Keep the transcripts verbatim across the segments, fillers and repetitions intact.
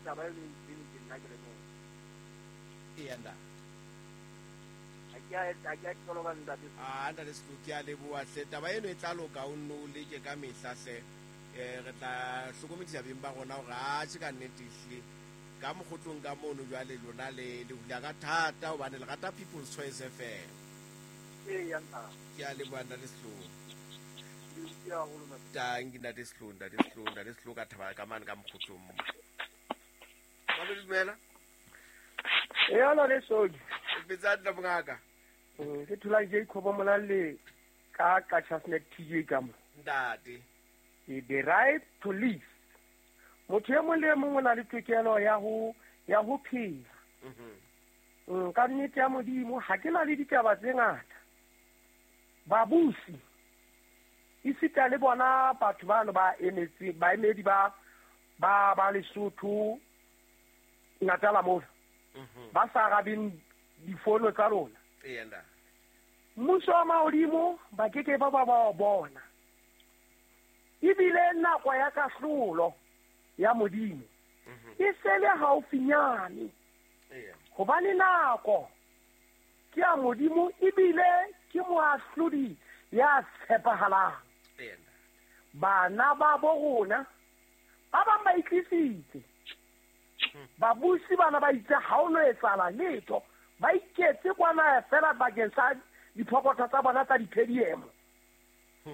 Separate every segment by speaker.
Speaker 1: taba e leng ke nna ke le mong.
Speaker 2: Eya ntate.
Speaker 1: Ha ke a ke a tlola ntate.
Speaker 2: Ah ntate Setlou ke a leboha hle. Taba eno e tla loka o nno o leke ka mehla hle. Eh re tla hlokomedisa beng ba rona hore atjhe ka nnete ehlile ka mokgotlong ka mono jwale lona le le hula ka thata hobane le rata People's Choice F M.
Speaker 1: Eya ntate.
Speaker 2: Ke a leboha ntate Setlou. Tanki ntate Setlou, ntate Setlou, ntate Setlou ka thaba ka mane ka mokgotlong mo. Ba dumela?
Speaker 3: Eya le soji.
Speaker 2: Betsa nna mongaka.
Speaker 3: Ke thola Jacob Molalle ka ka Chasnet T J ka mo.
Speaker 2: Ntate.
Speaker 3: The right to live. Motho e mong le mong o na le tokelo ya ho ya ho phela. Mhm. Ka nnete ya Modimo ha ke na le ditaba tse ngata. Babusi isita le bona batho bano ba emetse baemedi ba ba ba Lesotho Natala mona.
Speaker 2: Mhm.
Speaker 3: Ba sa arabeng difono tsa rona.
Speaker 2: Eya nda.
Speaker 3: Mmuso wa mahodimo ba keke ba ba ba bona. Ebile nako ya kahlolo ya Modimo e sele haufinyane.
Speaker 2: Eya.
Speaker 3: Hobane nako ke ya Modimo ebile ke moahlodi ya tshepahalang.
Speaker 2: Eya nda.
Speaker 3: Bana ba bo rona ba bang ba itlisitse. Babusi bana ba itse ha o no etsahala letho, ba iketse kwana fela bakeng sa diphokotho tsa bona tsa diphediemo.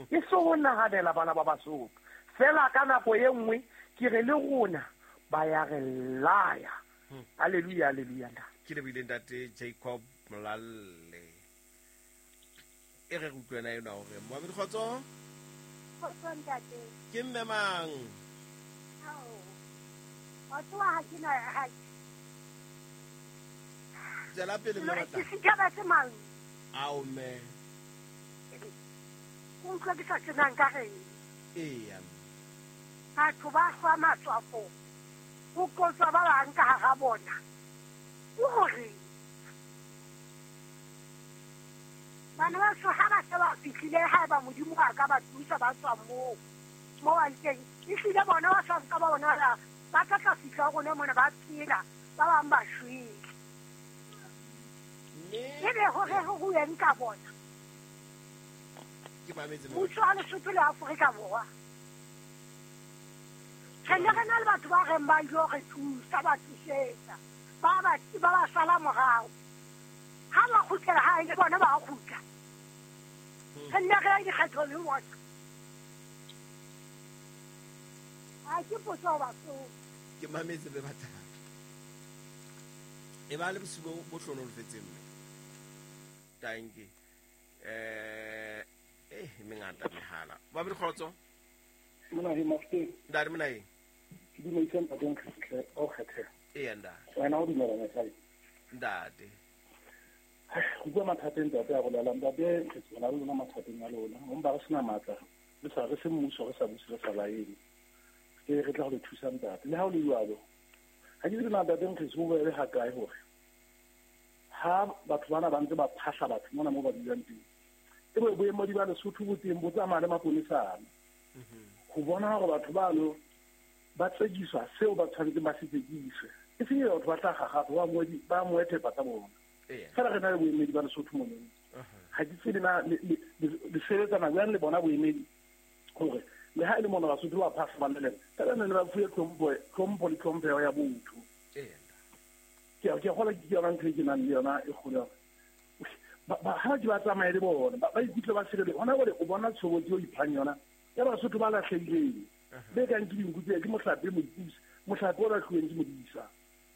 Speaker 3: E so ho nahanela bana ba Basotho. Fela ka nako e nngwe ke re le rona ba ya re laya. Hallelujah, hallelujah.
Speaker 2: Ke lebile ntate Jacob Molalle. E re utlwena ena hore Mohammed Kgotso.
Speaker 4: Kgotso ntate.
Speaker 2: Ke mme mang?
Speaker 4: Ao. Wa tsoa ha ke na ha.
Speaker 2: Tswela pele mme batla.
Speaker 4: Ke setjhaba se mang?
Speaker 2: Ao mme.
Speaker 4: Ke utlwa ke sa tsenang ka reng.
Speaker 2: Eya.
Speaker 4: Batho ba hlwa matswafo. Ho qotswa ba bang ka hara bona. O hore bana ba so ha ba se ba fihlile ha ba Modimo a ka ba thusa ba tswa moo. Moo ba teng. Ehlile bona ba sa nka ba bona la ba tla tla fihla rona mona ba phela ba bang ba shwele. Ebe hore ho rueng ka bona.
Speaker 2: Ke mametse mo.
Speaker 4: Mmuso wa Lesotho le Afrika Borwa. Re ne re na le batho ba reng ba ilo re thusa ba thusetsa. Ba ba ba ba sala morao. Ha ba kgutlela hae le bona ba kgutla. Re nne re ya dikgetho le bona. Ha ke potso ho batho.
Speaker 2: Ke mametse be batla. E ba le bosiu bo hlonolofetseng mme. Tanki. Eh eh mengata mehala. Ba be kgotso.
Speaker 5: Mona hi mafte.
Speaker 2: Ndare mona hi.
Speaker 5: Ke dumedisa ntate Nkgtle o kgethe.
Speaker 2: Eya ntate.
Speaker 5: Wena o dumela mosadi.
Speaker 2: Ntate.
Speaker 5: Go bua mathateng ntate a bolela ntate re tsona le lona mathateng a lona. O mpa re sena matla. Le sa re se mmuso re sa buse re sa laele. Ke re tla go le thusa ntate. Le ha o le jwalo. Ha ke tsebe na ntate Nkgtle o bue ha kae hore ha batho bana ba ntse ba phahla batho mona mo ba dulang teng. E bo boemedi ba Lesotho bo teng bo tsamaya le maponesana. Ho bona hore batho bano ba tsekiswa seo ba tshwanetseng ba se tsekiswe. E seng batho ba tla gagafa ba moedi ba moethepa tsa bona. Fela re na le boemedi ba Lesotho mono. Ha ke tsebe na le sebetsana jwang le bona boemedi hore le ha e le mona Basotho ba phahla ba leleng. Fela ne ba fuwe tlhompho tlhompho le tlhompheho ya botho. Ke a ke gola ke yona ntho e ke nang le yona e kgolo. Ba ba ha ke ba tsamaye le bona ba ikutlwe ba sirele. Hona jwale o bona tshobotsi o iphang yona ya Basotho ba lahlehileng. Be kang ke dinku tse ke mohlape modisa mohlape o lahlehileng ke modisa.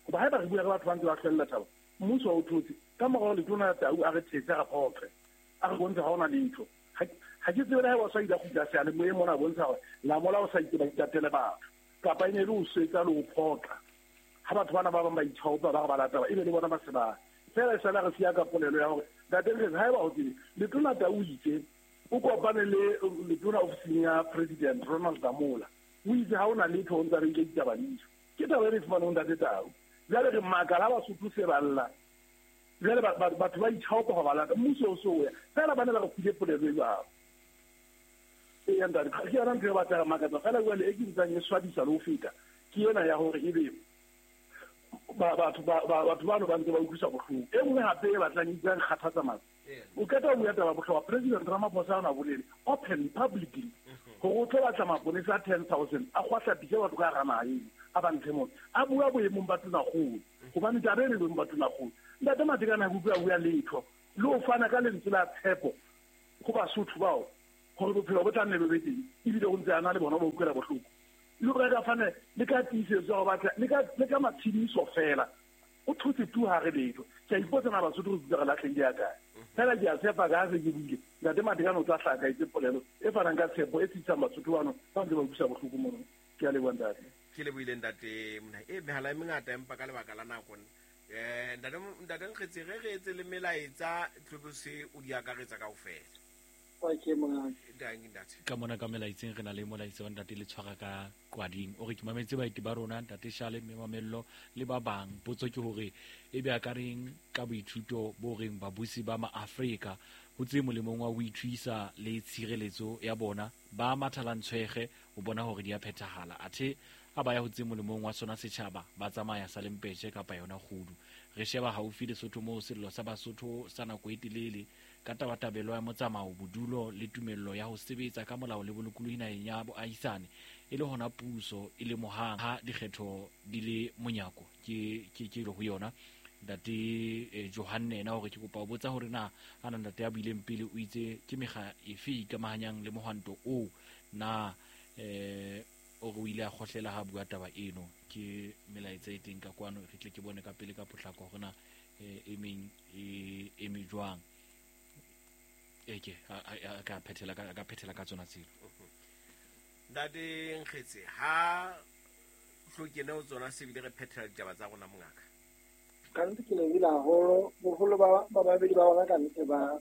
Speaker 5: Hoba haeba re bua ka batho ba ntse ba hlwella taba mmuso o thotse ka morao letona Tau a re thetse a phoqe a re bontsha ha ona letho. Ha ke tsebe le ha ba sa ile kgutla seale moe mona bontsha hore la mola o sa itse ba itatele batho kapa e ne le o swetsa le o phoqa. Ha batho bana ba bang ba ithaopa ba re ba lata ba ebe le bona ba se ba fela e sala re siya ka polelo ya hore ntate re haeba o tsebe letona Tau itse o kopane le letona ofising ya President Ronald Lamola o itse ha ona letho o ntse re ile ditaba ditso ke taba e re fumaneng ntate Tau. Jwale re makala Basotho se ba lla. Jwale batho ba ithaopa ho ba lata mmuso o so ya fela bana ba re file polelo e jwalo. Eya ntate ke yona ntho e batla re makatsa fela jwale e ke ntsang e swabisa le ho feta ke yona ya hore ebe batho ba batho bano ba ntse ba utlwisa bohloko. E nngwe hape e batlang e bua kgathatsa matla. O qeta ho bua taba bohlokwa President Ramaphosa o na bolele open publicly hore o tlo batla maponesa a ten thousand a kgwahlapise batho ka hara naha eno a ba ntshe mona. A bua boemong ba Tonakgolo hobane taba eno e boemong ba Tonakgolo. Ntate Matekane ha ke utlwe a bua letho le ho fana ka lentswe la tshepo ho Basotho bao hore bophelo bo tla nne bo be teng ebile o ntse a na le bona ba utlwela bohloko. Le hore a ka fana le ka tiisetso ya ho batla le ka le ka matshediso fela o thotse tu ha re letho. Ke a ipotsa na Basotho re dutse re lahlehile ya kae. Fela ke a tshepa ka ha se ke buile Ntate Matekane o tla hlaha ka etse polelo e fanang ka tshepo e tsitsang Basotho bano ba ntse ba utlwisa bohloko mono. Ke a leboha ntate.
Speaker 2: Ke lebohile ntate mona. E mehala e mengata empa ka lebaka la nako eh ntate ntate Nkgetse re re etse le melaetsa tlhobose o di akaretsa kaofela.
Speaker 1: Okay mongaka.
Speaker 6: Ka mona ka melaetseng re na le molaetsa wa ntate le tshwara ka kwading o re ke mametse baeti ba rona ntate Shale mme Mamello le ba bang. Potso ke hore e be a ka reng ka boithuto bo reng babusi ba maAfrika ho tse molemong wa ho ithuisa le tshireletso ya bona ba mathalantshwege ho bona hore di a phethahala athe ha ba ya ho tse molemong wa sona setjhaba ba tsamaya sa lempetje kapa yona kgudu. Re sheba haufi Lesotho moo sello sa Basotho sa nako e telele ka tabatabelo ya motsamao bodulo le tumello ya ho sebetsa ka molao le bolokolohi naheng ya boahisane e le hona puso e lemohang ha dikgetho di le monyako ke ke ke ho yona. Ntate eh, Johanne ena hore ke kopa ho botsa hore na ana ntate ya buileng pele o itse ke mekga efe e ikamahanyang le mohwanto oo na eh o re o ile a kgohlela ha bua taba eno. Ke melaetsa e teng ka kwano re tle ke bone ka pele ka potlako hore na e meng e eme jwang. Eke a ka phethela ka ka phethela ka tsona tselo.
Speaker 2: Ntate Nkgetse ha hlokene o tsona sebile re phethela ditaba tsa rona mongaka.
Speaker 1: Ka nnete ke lebohile haholo boholo ba ba babedi ba bona ka nnete ba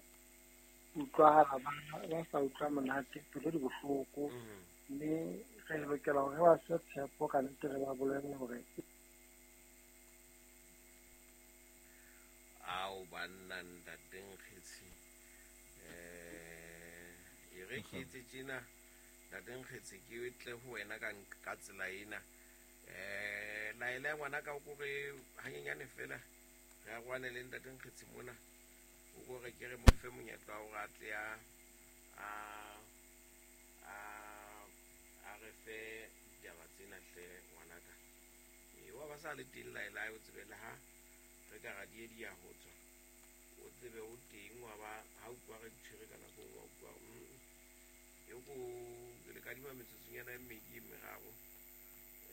Speaker 1: utlwahala ba ba sa utlwa monate pelo di bohloko mme re lokela hore ba se tshepo ka nnete re ba bolelle hore
Speaker 2: ao banna ntate Nkgetse eh e re ke etse tjena ntate Nkgetse ke tle ho wena ka ka tsela ena eh laela ngwana ka o kore hanyenyane fela re a rwane le ntate Nkgetse mona o kore ke re mo fe monyetla wa hore a tle a a a re fe ditaba tsena hle ngwanaka. E wa ba sa le teng laela o tsebe le ha re ka ra di di ya ho tswa o tsebe o teng wa ba ha utlwa re tshwere ka nako wa utlwa e ko le kadima metsotsonyana e mmedi e meraro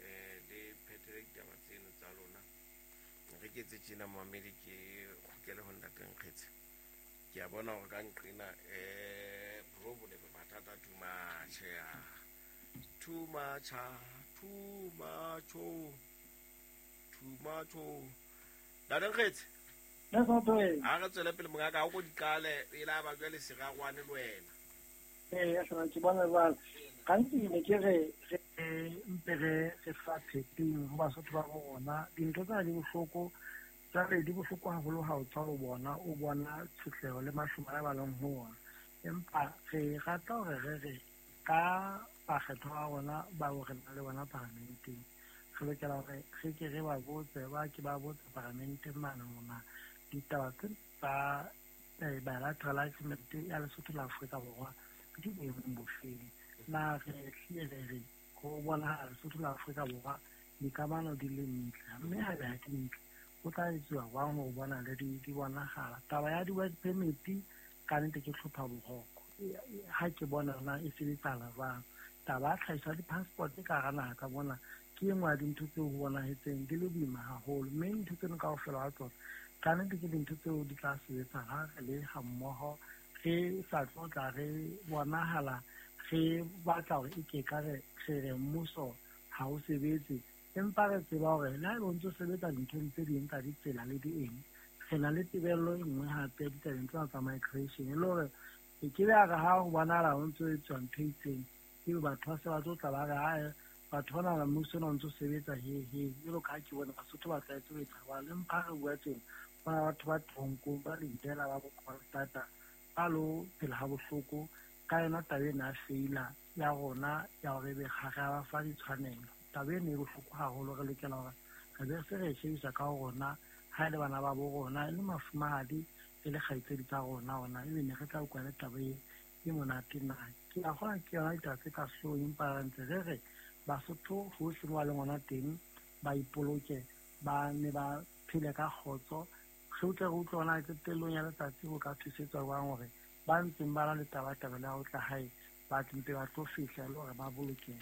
Speaker 2: eh le phethele ditaba tseno tsa lona. Re ke etse tjena momamedi ke kgutlele ho ntate Nkgetse. Ke a bona hore ka nqena eh problem mathata too much ya too much too much too much. Ntate Nkgetse a re tswele pele mongaka ha o ko diqale e la ba jwale serarwane le wena.
Speaker 1: Ee, ya ke bona jwale gantsi ne ke re re mpe re re fa pheping ho Basotho ba rona dintho tsena di bohloko jwale di bohloko haholo ha o tswa ho bona o bona tshotleho le mahlomola a ba leng ho ona empa re rata hore re re ka bakgethwa ba rona bao re nang le bona paramenteng re lokela hore re ke re ba botse ba ke ba botse paramenteng mane mona ditaba tse tsa bilateral agreement ya Lesotho la Afrika Borwa di boemong bofeng na re hlile re re ho bonahala Lesotho la Afrika Borwa dikamano di le ntle mme ha ebe ha di ntle ho tla etsuwa jwang ho bona le di di bonahala. Taba ya di-work permit ka nnete ke hlopha boroko ha ke bona na e sebetsahala jwang. Taba ya tlhahiso ya di-passport ka hara naha ka mona ke e nngwe ya dintho tseo ho bonahetseng di le boima haholo mme dintho tseno kaofela ha tsona ka nnete ke dintho tseo di tla sebetsa ha re le ha mmoho re sa tlo tla re bonahala re batla hore e ke ka re re re mmuso ha o sebetse empa re tseba hore le ha ebe o ntso sebetsa dinthong tse ding tsa ditsela le di eng re na le tebello e nngwe hape ditabeng tsena tsa migration e le hore e ke be ya re ha ho bonahala ho ntso etswa ntho e itseng ebe batho ba se ba tlo tla ba re ae batho bana ba mmuso ona o ntso sebetsa he he jwalo ka ha ke bona Basotho ba tlwaetse ho etsa jwalo empa ha re bua tjena bona batho ba toronkong ba Lindela ba bo-Kroonstad ba lo phela ha bohloko ka yona taba ena ya feila ya rona ya hore ebe ga re a ba fa ditshwanelo. Taba ena e bohloko haholo re lokela hore Re be se re e shebisa ka ho rona, ha e le bana ba bo rona, e le mafumahadi, e le kgaitsedi tsa rona ona, ebe ne re tla utlwa le taba e e monate na. Ke a kgona ke yona ditaba tse ka sehloohong, empa re ntse re re Basotho hohle mo ba leng hona teng ba ipoloke, ba ne ba phele ka kgotso. Re utlwe re utlwe hona qetellong ya letsatsi ho ka thusetswa jwang hore ba ntseng ba na le tabatabelo ya ho tla hae ba tle mpe ba tlo fihla e le hore ba bolokehe.